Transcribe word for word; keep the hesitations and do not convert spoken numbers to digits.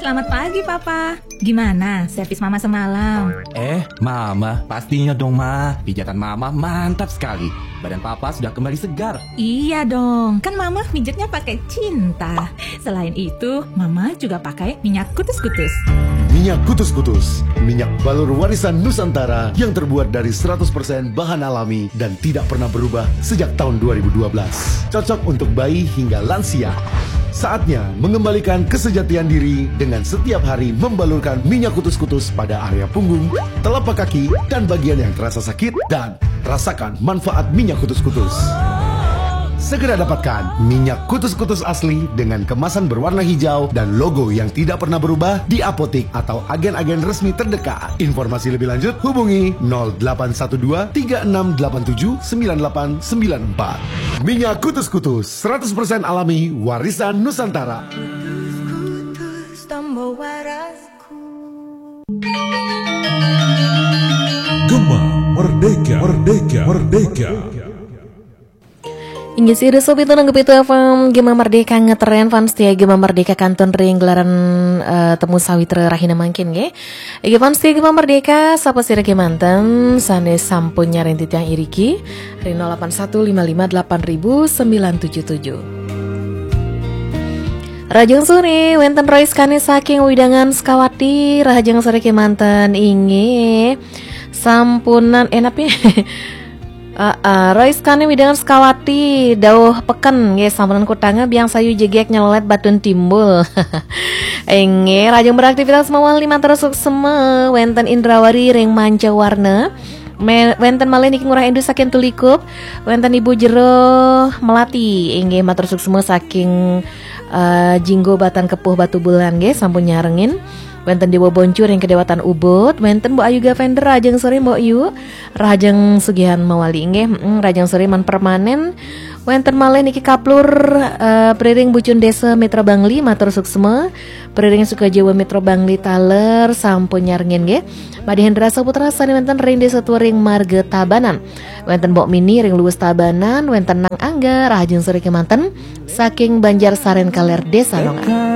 Selamat pagi, Papa. Gimana servis Mama semalam? Eh, Mama, pastinya dong, Ma. Pijatan Mama mantap sekali. Badan Papa sudah kembali segar. Iya dong, kan Mama mijitnya pakai cinta. Selain itu, Mama juga pakai minyak kutus-kutus. Minyak kutus-kutus, minyak balur warisan Nusantara yang terbuat dari seratus persen bahan alami dan tidak pernah berubah sejak tahun dua ribu dua belas. Cocok untuk bayi hingga lansia. Saatnya mengembalikan kesejatian diri dengan setiap hari membalurkan minyak kutus-kutus pada area punggung, telapak kaki, dan bagian yang terasa sakit, dan rasakan manfaat minyak kutus-kutus. Segera dapatkan minyak kutus-kutus asli dengan kemasan berwarna hijau dan logo yang tidak pernah berubah di apotik atau agen-agen resmi terdekat. Informasi lebih lanjut hubungi nol delapan satu dua tiga enam delapan tujuh sembilan delapan sembilan empat. Minyak kutus-kutus seratus persen alami warisan Nusantara. Gema Merdeka, Merdeka, Merdeka. Inggih, sira sobat nanggupi F M Gema Merdeka ngetren, fans setia Gema Merdeka kantun ring gelaran eh, temu sawitra rahina mangkin nggih. Inggih, fans setia Gema Merdeka, sapa sira kemanten sane sampun nyareng titiang iriki ring nol delapan satu lima lima delapan ribu sembilan tujuh tujuh. Rahajeng sore, wenten Rois Kani saking Wewidangan Sukawati, rahajeng sore kemanten inggih. Sampunan enapi. Aa, Rois Kani Wewidangan Sukawati, dauh peken nggih, sampunan kutanga biang sayu jegek nyelelet batun timbul. Inggih, rahajeng beraktivitas mawali matur suksma, wenten Indrawari ring Manca Warna. Me- wenten malih niki Ngurah Endu saking Tulikup, wenten Ibu Jero Melati, inggih matur suksma saking eh, Jinggo Batan Kepuh Batubulan nggih sampun nyarengin. Wenten Dewa Boncu ring Kedewatan Ubud, wenten Mbok Ayu Gavender, rahajeng sore Mbok Yu, rahajeng sugihan mawali nggih, mm, rahajeng sore man permanen. Wenten malih niki kaplur eh, priring Bucun Desa Mitra Bangli matur suksma, priring Sukajawa Mitra Bangli taler sampun nyarengin nggih. Madhi Hendra Saputra sane wenten ring Desa Turing Marga Tabanan. Wenten Mbok Mini ring Luwus Tabanan, wenten Nang Angga, rahajeng sore kemanten saking Banjar Saren Kaler Desa Nongan.